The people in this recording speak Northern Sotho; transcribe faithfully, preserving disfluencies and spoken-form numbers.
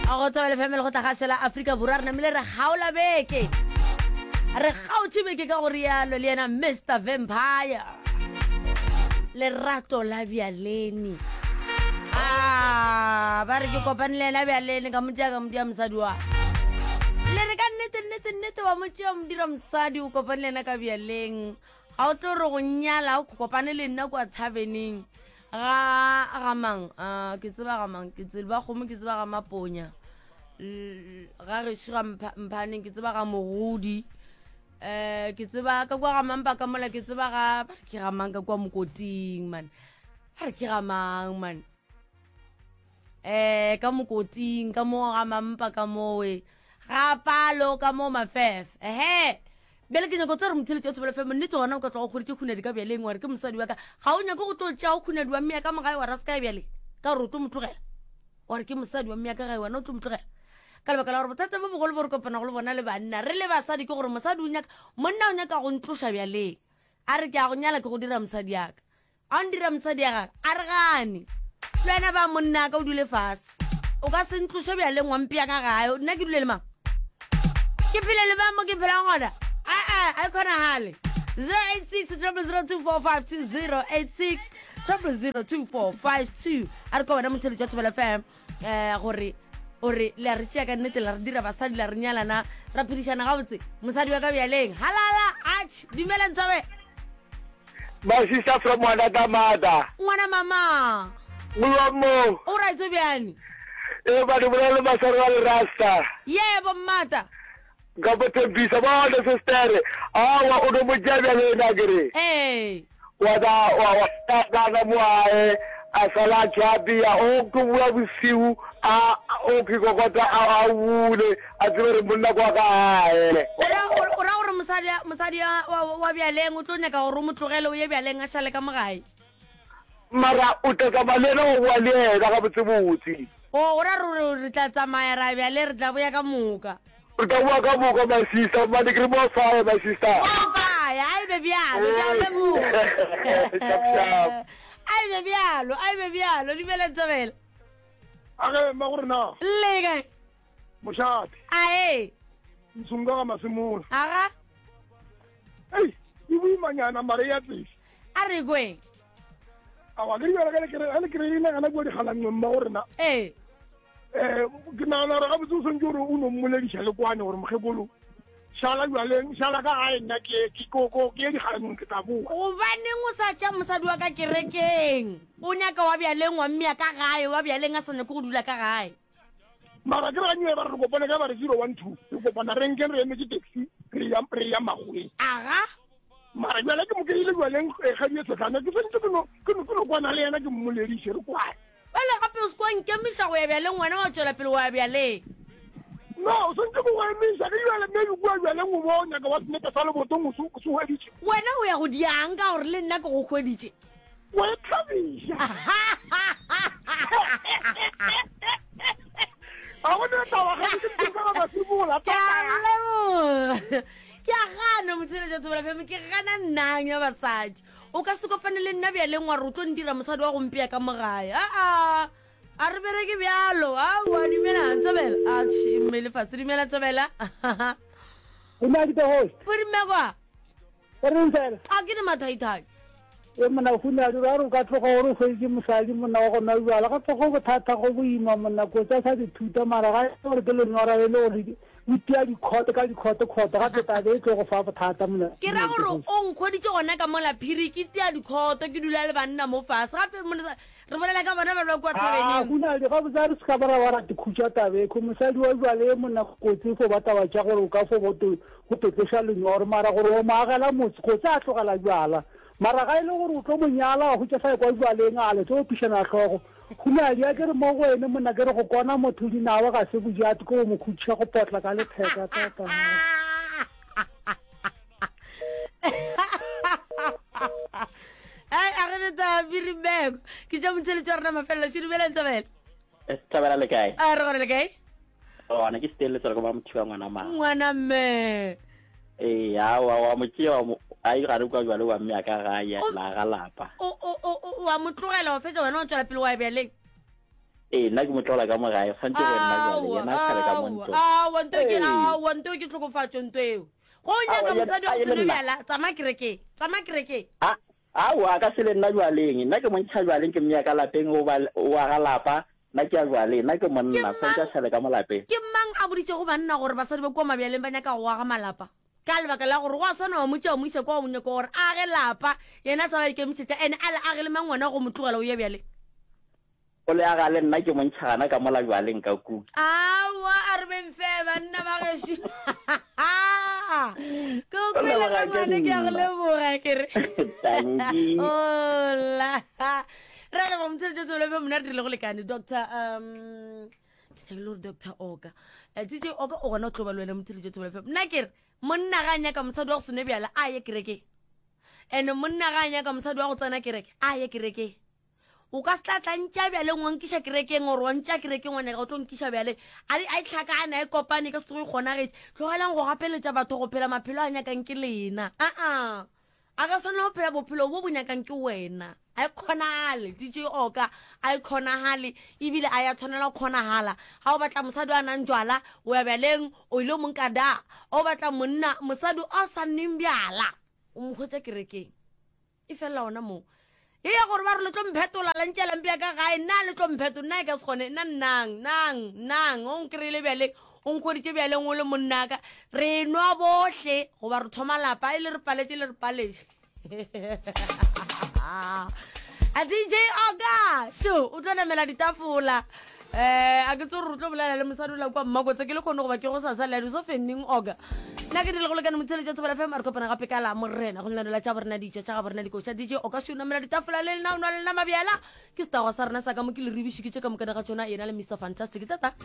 Go Thobela F M le go tla gašela Afrika Borwa, re namile re kgaola beke, re kgaotše beke ka go rialo le yena Mister Vampire, lerato la bjaleni. Ah, ba re ke kopane le yena bjaleni, ka mo tšea ka mo dira mosadi wa le re ka nnete nnete nnete wa mo tšea mo dira mosadi, o kopane le yena ka bjaleng, ga o tlo re go nyala o kopane le nna kwa thaveneng ga ga mang, uh, ke tseba ga mang, ke tseba kgomo, ke tseba ga maponya, ga gešo ga mphaneng, ke tseba ga mogodi, um ke tseba ka kwa ga mampa ka mola, ke tseba ga ba re ke ga mang ka kwa mokoting man, ba re ke ga mang man, um ka mokoting ka mo ga mampa ka mowe ga palo ka mo mafefe. Ehe, bjale ke nyako tse re motheletši wa Thobela F M, nnete gona o ka tloga o kgweditše khunadi ka bjaleng, wa re ke mosadi wa ka, ga o nyake go tlo tšea o khunadi wa mmea ka mogae wa ra se kae bjale ka gore o tlo mo tlogela, wa re ke mosadi wa mmea ka gae wena o tlo mo tlogela ka lebaka la gore bothata bo bogolo bo re kopana go le bona le banna re le basadi ke gore mosadi o nyaka monna o nyaka go ntloša bjaleng, a re ke a go nyala ke go dira mosadi yaka, a o ndira mosadi ya gage, a re gane le wena ba monna ka o dule fase, o ka se ntloše bjaleng wa mpea ka gae, nna ke dule le mang, ke phele le mang mo ke phelang gona, aa a e kgonagale. Zero eight six triple zero two four five two, zero eight six triple zero two four five two. A re ka wena motheletši wa Thobela F M, um gore o re le a re tšea ka nnete, la re dira basadi, la re nyalana, ra phedišana gabotse, mosadi wa ka bjaleng halala. Ach, dumela Ntsobe. My sister from another mother. Ngwana mama. Molomo. O right o bjane? E ba di bolela maswaro wa le rasta. Yebo mmata. Ka bo thembisa bona sister. Awa o no mo tšea bjale ena kere. Ee. Wa da wa wa kana mo ae a sala tšhabia o ke bua bosiu a o ke kokota a a bule a tsebe re monna kwa gae. O ra o ra gore mosadi mosadi wa wa bjaleng o tlo nyaka gore o mo tlogele o ye bjaleng a šale ka mo gae. Mara o tla tsamaya le yena wa bua le yena ga botsebotse. O o ra gore re tla tsamaya ra bjale re tla boya ka moka. Re tla boa ka moka my sister, mane ke re mo fire my sister. Mo fire, a e be bjalo, ke a leboga. Sharp sharp. A e be bjalo, a e be bjalo, dumela Ntsobela. A ge mma gore na. Le kae? Mošate. A e. Ntshunga ga masemola. Aga. Ei, e boimanyana mare ya tsese. A re kweng. Awa ke dibjala ka le kere, le kere ina gana kua digalangweng mma gore na. Ee. Eh, ke nagana gore gabotse o swantse gore o no mmolediša le kwane gore mokgekolo šala bjaleng, šala ka gae nna ke ke ko ko ke ye digalangweng ke tla boa. Gobaneng o sa tša mosadi wa ka kerekeng? O nyaka wa bjaleng wa mmea ka gae, wa bjaleng a sa nyake go dula ka gae. Mara ke re ganywe ba re re kopane ka ba re zero one two, re kopana renkeng re emetse taxi re ya re ya makgoweng. Aga. Mara bjale ke mo keile bjaleng kgadi e tshetlana ke swantse ke no ke no ke no kwana le yena ke mmolediše re kwane. Bjale gape o se kwa nkemiša go ya bjaleng wena wa tšwela pele wa ya bjaleng. No, o swantse go emiša ke bjale maybe kua bjaleng o bo nyaka wa senepe sa lebotong o se o se hweditše. Wena o ya go diang ka gore le nna ke go hweditše. Wa e thabiša. A go ne taba ga ke ke ka ba sebola. Ke a leboga. Ke a gana motsheletša Thobela F M, ke gana nnang ya basadi. O ka se kopane le nna bjaleng wa re o tlo ndira mosadi wa go mpea ka mo gae. Aa, a re bereke bjalo. Aowa, dumela Thobela. Atšhe, mme lefase, dumela Thobela. Dumela ke the host. Borimekwa. O reng fela? A ke ne mathaithai. E monna o funa dira gore o ka tloga gore o hweditše mosadi monna wa go nwa bjala gape go bothata go boima monna kotsi a sa dithuta mara ga e gore ke lenyora e le gore o tia dikhoto ka dikhoto khoto gape tabe e tlo go fa bothata monna. Ke ra gore o nkhweditše gona ka mola phiri ke tia dikhoto ke dula le banna mo fase gape monna re bolela ka bona ba ba kua thabeneng. Gona le gabotse a re se ka ba ra ba ra tikhutša tabe kho mosadi wa bjale monna kotsi fo ba taba tša gore o ka fo bo go totloša lenyoro mara gore o mo agela motse kotsi a tlogela bjala mara ga e le gore o tlo mo nyala wa hwetša sa ekwa bjaleng a le tlo opišana hlogo gona di a ke re mo go ene monna ke re go kona motho dinawa ga se bojate ke go mo khutšiša go potla ka letheka tata. Ai a re le tsa birimeko ke tša motsheletso wa rena mafelelo še dumelang Thabela. Thabela le kae? A re gore le kae? Gona ke stele tsela go ba mothiba ngwana ma. Ngwana mme. Ee, a wa wa mo tšea wa a e gare kwa jwale wa mme a ka gae la ga lapa. O o o wa mo tlogela wa fetša wena wa tšwela pele wa bjaleng. Ee, nna ke mo tlola ka mo gae, tshwanetse go nna jwale, yena a šale ka mo ntlong. Aowa, nto ke Ee. aowa, nto ke tlhokofatšo nto eo. Go o nyaka Aowa, yena- mosadi wa a go ye se le nwe nna. bjala, tsamaya kerekeng, tsamaya kerekeng. A, aowa, a ka se le nna jwaleng. Nna ke mo ntšha jwaleng, ke mmea ka lapeng, o ba, o aga lapa, nna ke ya jwaleng. Nna ke Ke monna, tshwanetse a mang, šale ka mo lapeng. ke mang a boditšego banna gore basadi ba kua mabjaleng ba nyaka go aga malapa? Ka lebaka la gore go a swana wa mo tšea wa mo iša kwa o nyaka gore a age lapa, yena a sa ba ikemišetša, ene a le age le mang wena go mo tlogela o ye bjaleng? O le aga le nna ke mo ntšha gana ka mola bjaleng ka ku. Aowa, a re beng fe banna ba gešo. Ke o O kwele leboga ke rangwane, ke a go nna. leboga ke re. Tanki. Ola. Re a leboga motsheletso tsebele fe mona re dirile go lekane Doctor um ke nyakile gore Doctor Oka. Eh, D J Oka o gona o tlo ba le wena motsheletso tsebele fe. Nna ke re monna ga a nyaka mosadi wa go se nwe bjala a ye kerekeng. Ene monna ga a nyaka mosadi wa go tsena kereke a ye kerekeng. O ka se tla tla ntša bjaleng wa nkiša kerekeng gore wa ntša kerekeng wa nyaka go tlo nkiša bjaleng. A di a e tlhakane a e kopane ka se tsoge e kgonagetše. Tlogelang go gapeletša batho go phela maphelo a nyakang ke lena. Aa. A ka swanela go phela bophelo bo bo nyakang ke wena. A e kgonagale D J Oka, a e kgonagale ebile a ya tshwanela go kgonagala. Ga o batla mosadi a nang jwala, o ya bjaleng o ile mo nka da. O batla monna mosadi o sa nweng bjala, o mo hwetša kerekeng. E felela ona moo. E ya gore ba re le tlo mphetola la ntšela mpea ka gae, nna le tlo mphetola, nna e ka se kgone, nna nnang, nang, nang, o nkry-ile bjaleng, o nkhweditše bjaleng o le monnaka, re nwa bohle goba re thoma lapa, e le re paletše le re paletše. A D J Oka, sho, o tlo namela ditafola. Eh, a ke tse gore o tlo bolela le mosadi o la kwa Mmakotse, ke le kgone goba ke go sasa le ya diso fenning Oka. Nna ke dirile go lekane motsheletso Thobela F M, a re kopana gape ka la morena go lenaneo la tša borena ditšo tša ga borena dikoša. D J Oka sho namela ditafola le lena o nwa le lena mabjala. Ke setago sa rena sa ka mo ke le ribišikitše ka mokana ga tšona, yena le Mister Fantastic. Tata.